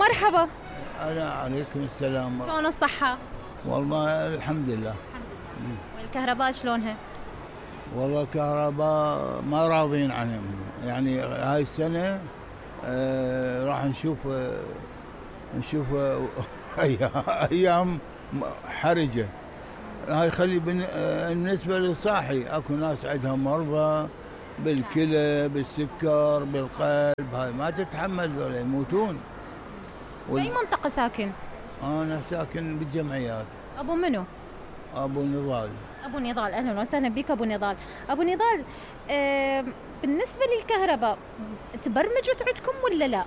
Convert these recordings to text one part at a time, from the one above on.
مرحبا. أنا عليكم السلام. شلون الصحة؟ والله الحمد لله. الحمد لله. والكهرباء شلونها؟ والله الكهرباء ما راضين عنهم، يعني هاي السنة راح نشوف أيام حرجة. هاي خلي بالنسبة للصاحي، أكو ناس عندها مرضى بالكلى بالسكر بالقلب، هاي ما تتحمل ولا يموتون. بأي منطقة ساكن؟ أنا ساكن بالجمعيات. أبو منو؟ أبو نضال. أبو نضال، أهلا وسهلا بك أبو نضال. أبو نضال، بالنسبة للكهرباء تبرمجت عندكم ولا لا؟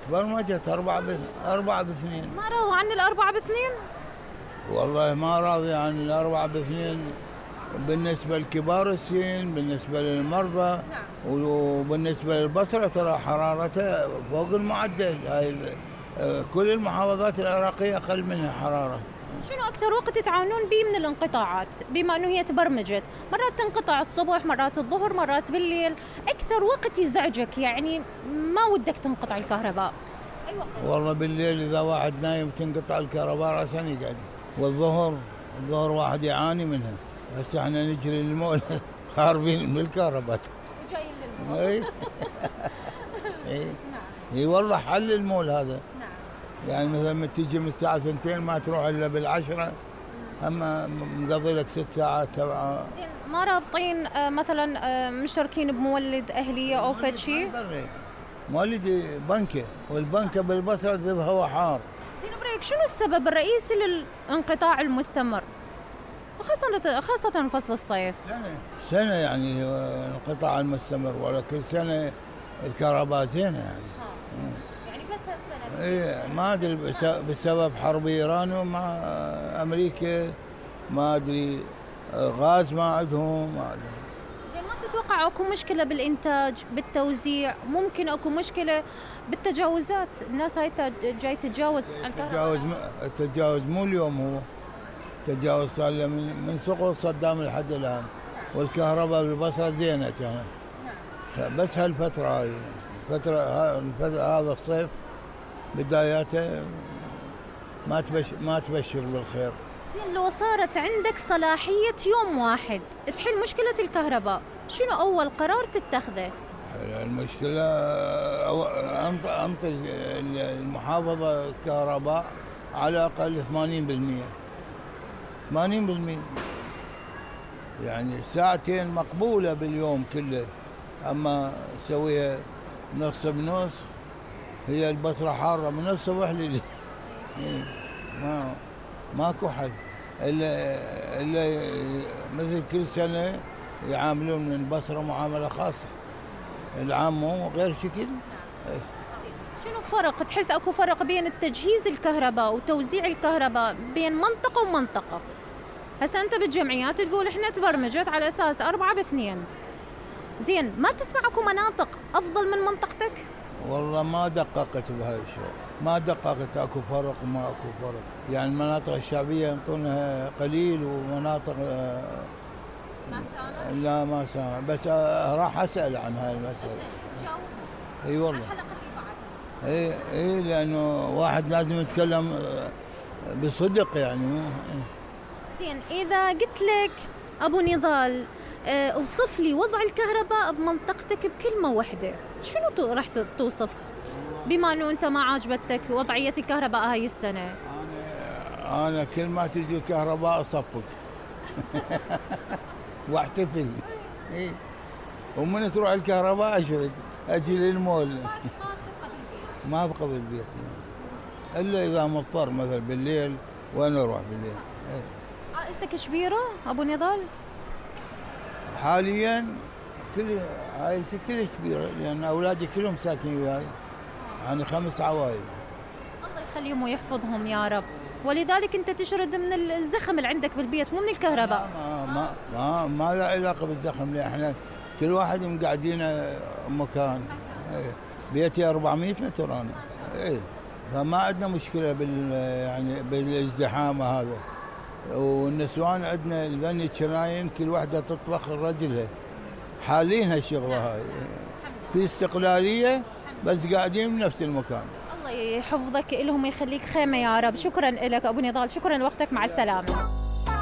تبرمجت 4 ب2. ما راضوا عن 4 ب2؟ والله ما راضي عن 4 ب2 بالنسبة لكبار السن، بالنسبة للمرضى. وبالنسبة للبصرة ترى حرارتها فوق المعدل. هاي كل المحافظات العراقية أقل منها حرارة. شنو أكثر وقت تعانون به من الانقطاعات؟ بما أنه هي تبرمجت، مرات تنقطع الصبح، مرات الظهر، مرات بالليل، أكثر وقت يزعجك يعني ما ودك تنقطع الكهرباء أي وقت؟ والله بالليل إذا واحد نايم تنقطع الكهرباء رأسا يقعد. والظهر واحد يعاني منها. هسه احنا نجري للمول خاربين بالكهرباء وجايين للمول. اي اي والله حل المول هذا. نعم. يعني مثلا ما تيجي من الساعة 2 ما تروح إلا بالعشرة، أما مقضي لك 6 ساعات 7. زين ما رابطين مثلا مشتركين بمولد أهلية أو فد شيء؟ مولد بنكة، والبنكة بالبصرة ذبها هوا حار. زين بريك، شنو السبب الرئيسي للانقطاع المستمر؟ خاصة فصل الصيف. سنة يعني الانقطاع المستمر، ولا كل سنة الكهرباء زينة يعني. يعني بس هالسنة. ايه ما ادري بسبب حرب ايران ومع امريكا، ما ادري غاز ما عندهم، ما ادري. زين ما تتوقع اكو مشكلة بالانتاج بالتوزيع؟ ممكن اكو مشكلة بالتجاوزات، الناس هاي جاي تتجاوز على الكهرباء. التجاوز مو اليوم، هو تجاوز صار له من سقوط صدام لحد الان، والكهرباء بالبصرة زينة كانت. بس هالفترة هاي هذا الصيف بداياته ما تبشر بالخير. زين لو صارت عندك صلاحية يوم واحد تحل مشكلة الكهرباء، شنو أول قرار تتخذه؟ المشكلة أنطي المحافظة الكهرباء على الأقل 80%. يعني 2 ساعة مقبولة باليوم كله، أما سويها نص بنص. هي البصرة حارة من الصبح لليل. ماكو حل إلا مثل كل سنة يعاملون البصرة معاملة خاصة، العام مو غير شكل. شنو فرق تحس اكو فرق بين التجهيز الكهرباء وتوزيع الكهرباء بين منطقة ومنطقة؟ هسه انت بالجمعيات تقول احنا تبرمجت على اساس 4 ب2. زين ما تسمع اكو مناطق افضل من منطقتك؟ والله ما دققت بهاي الشيء، ما دققت اكو فرق وما اكو فرق. يعني المناطق الشعبية ينطونها قليل، ومناطق ما سامع؟ لا ما سامع، بس راح اسأل عن هاي المسألة. جاوب. اي والله. الحلقة اللي بعدها. اي لانه واحد لازم يتكلم بصدق يعني. زين اذا قلت لك ابو نضال اوصف لي وضع الكهرباء بمنطقتك بكلمة واحدة، شنو راح توصفها؟ بما انه انت ما عاجبتك وضعية الكهرباء هاي السنة. انا كل ما تجي الكهرباء اصفق واحتفل. اي ومن تروح الكهرباء اشرد اجي للمول. ما ابقى بالبيت الا اذا مضطر، مثلا بالليل وانا اروح بالليل. عائلتك كبيرة ابو نضال؟ حاليا كل عائلتي كلها كبيرة، لان اولادي كلهم ساكنين وياي، يعني 5 عوائل. الله يخليهم ويحفظهم يا رب. ولذلك انت تشرد من الزخم اللي عندك بالبيت مو من الكهرباء. ما له علاقة بالزخم، لان احنا كل واحد مقعدين مكان. بيتي 400 متر انا. فما عندنا مشكلة يعني بالازدحام هذا. والنسوان عندنا البني الشرايين كل واحدة تطبخ رجلها، حالين هالشغلة هاي، في استقلالية بس قاعدين بنفس المكان. الله الله يحفظك لهم ويخليك خيمه يا رب. شكرا لك ابو نضال، شكرا لوقتك، مع السلامه.